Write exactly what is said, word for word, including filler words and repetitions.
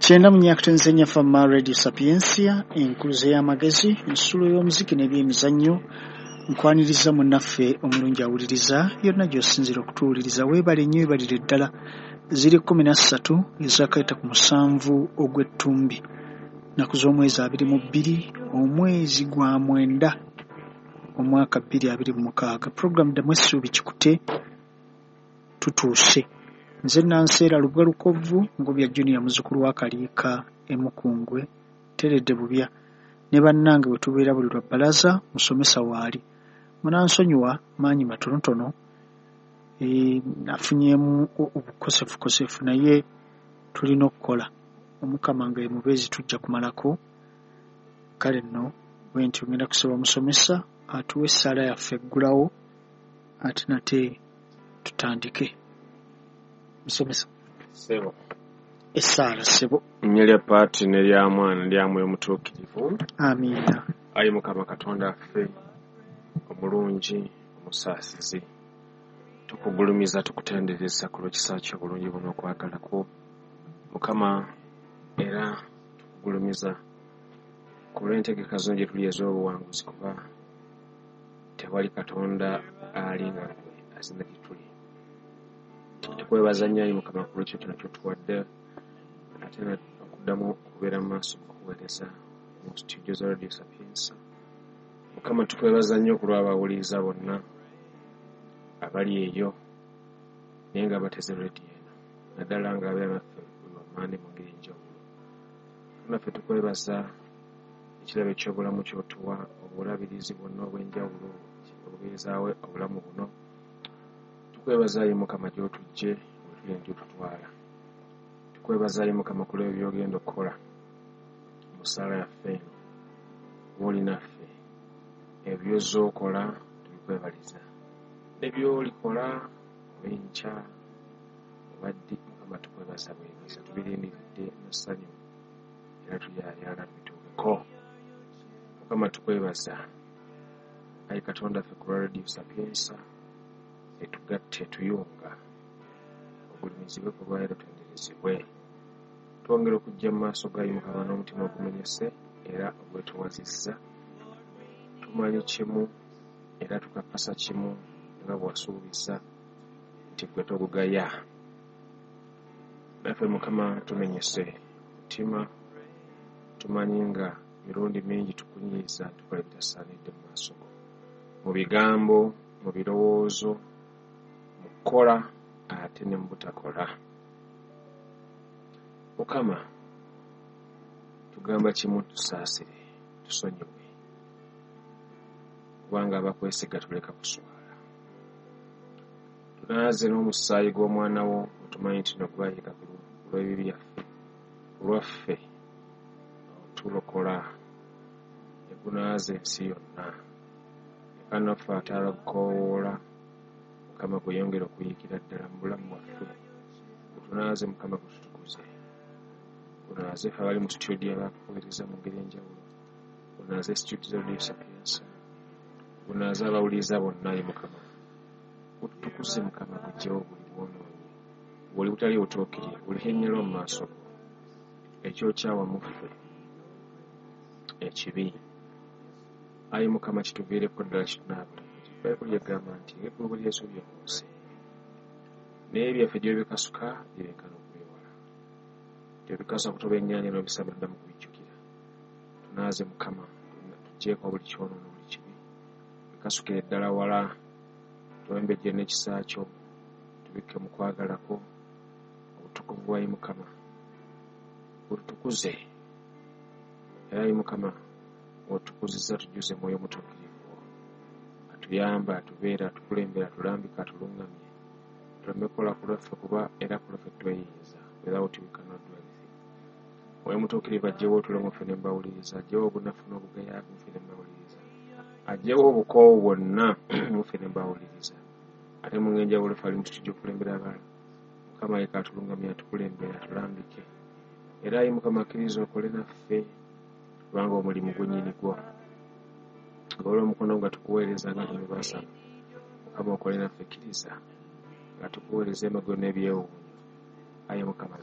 Kyenda mu nyakutenze Fama Radio Sapientia, enkuluze y'amagezi, ensulo y'omuziki n'ebyemizannyo. Nkwaniriza munnaffe omulungi awuliriza yonna gy'osinziira okutuwuliriza. Weebale nnyo, weebalire ddala. Ziri kkumi na ssatu ezakaita ku musanvu ogw'ettumbi, nnaku z'omwezi abiri mu bbiri, omwezi gwa mwenda, omwaka bbiri abiri mu mukaaga. Puroguramu Ddamu Essuubi Kikute tutuuse. Nze Nanseera Lubwa Lukovvu, Ngobya Junior, muzzukulu wa Kaliika e Mukungwe, Teredde Bubya ne bannange bwe tubeera buli lwa bbalaza, musomesa waali. Munansonyiwa maanyi matonotono, e, nafunyeemu obukosefukosefu, naye tulina okukola. Omukama nga ye mubeezi tujja kumalako. Kale nno bwe ntyo ngenda kusaba musomesa atuwe essaala yaffe eggulawo, ate nate tutandike. Musomesa. Ssebo. Essaala ssebo. Erinnya lya Paati ne lya Mwana ne lya Mwoyo Mutuukirivu. Amiina. Ayi Mukama Katonda waffe omulungi omusaasizi, tukugulumiza, tukutendereza ku lw'ekisa kyo obulungi buno okwagala kwo. Mukama, era tukugulumiza ku lw'entegeka zino gye tuli ez'obuwanguzi, kuba tewali Katonda ali nga ggwe azina gye tuli. Tukwebaza nnyo ayi Mukama ku lw'ekyo kino ky'otuwadde, ate okuddamu okubeera mu maaso mu kuweereza mu studio za Radio Sapientia. Mukama, tukwebaza nnyo ku lw'abawuliriza bonna abali eyo naye nga bateze rediyo eno, naddala nga abeera naffe buli wamaani mu ngeri enjawulo. Naffe tukwebaza ekirabo eky'obulamu ky'otuwa, obulabirizi bwonna obw'enjawulo obubeezaawo obulamu buno. Tukwebaza ayi Mukama gy'otuggye wetuli gy'otutwala. Tukwebaza ayi Mukama ku lw'ebyo by'ogenda okukola mu ssaala yaffe eno, bw'oli naffe. Ebyo by'okola tubikwebaliza, ne by'olikola olw'enkya oba ddi, Mukama tukwebaza bwebaza, tubirindiridde n'essanyu era tuyayaana tubituukeko. Mukama tukwebaza ayi Katonda ffe ku lwa Radio Sapientia etugatta etuyunga, ogulumizibwe ku lwayo tutenderezebwe. Twongera okujja mu maaso ga Mukama n'omutima ogumenyese era ogwetowazizza. Tumanyi kimu era tukakasa kimu nga bw'wasuubiza nti ggwe togugaya. Naffe Mukama tumenyese mutima, tumanyi nga mirundi mingi tukunyiiza, tukola ebitasaanidde mu maaso go, mu bigambo, mu birowoozo, mu kukola ate ne mu butakola. Mukama tugamba kimu, tusaasire, tusonyiwe, kubanga abakwesiga tuleka kuswala. Tunaaze n'omusaayi gw'omwana wo, otumanyi nti no gwayiika ku lw'ebibi byaffe, ku lwaffe otulokola, ne gunaaza ensi yonna. Leka naffe ate abakukoowoola, Mukama gweyongere okuyiikira ddala mu bulamu bwaffe. Gutunaaze Mukama, gututukuze. Gunaaze ffe abali mu studio abakuweereza mu ngeri enjawulo. Gunaaze studio za Radio Sapientia. Gunaaze abawuliriza bonna ayi Mukama. Gututukuze Mukama, guggyewo buli bwonoonyi, buli butali butuukirivu, buli hennyalwa mu maaso go, ekyokyawa mu ffe ekibi. Ayi Mukama kituviireko ddala, kitunaabule. Bayibuli egamba nti ng'eggulu bwe lyesuubye ku nsi, n'ebyaffe gy'obikasuka byenkana okubyewala. Gy'obikasuka kutoba ennyanja n'obisaba ddamu kubijjukira. Tunaaze Mukama, tuggyeeko buli kyonoono, buli kibi, bikasukire ddala wala, tuwembejje n'ekisa kyo, tubikke mu kwagala kwo, obutukuvu bwa Mukama bututukuze. Era ayi Mukama ng'otukuzizza, tujjuze Mwoyo Mutuukirivu atuyamba, atubeera, atukulembera, atulambika, atuluŋŋamye, tuleme kukola ku lwaffe, kuba era ku lwaffe tweyinza. Without we cannot do anything. Mwoyo Mutuukirivu aggyewo otulo mu ffe ne mbawuliriza, aggyewo obunafu n'obugayaavu mu ffe ne mbawuliriza, aggyewo obukoowu bwonna mu ffe ne mbawuliriza. Ate mu ngeri enjawulo ffe ali mu studio okulembera abalala, Mukama leka atuluŋŋamye, atukulembere, atulambike. Era ayi Mukama akkiriza okole naffe, kubanga omulimu gwennyini gwo. Golola omukono nga tukuweereza nga tumubasaba. Mukama okole naffe, kkiriza nga tukuweereza emagero n'ebyewuunyo. Ayi Mukama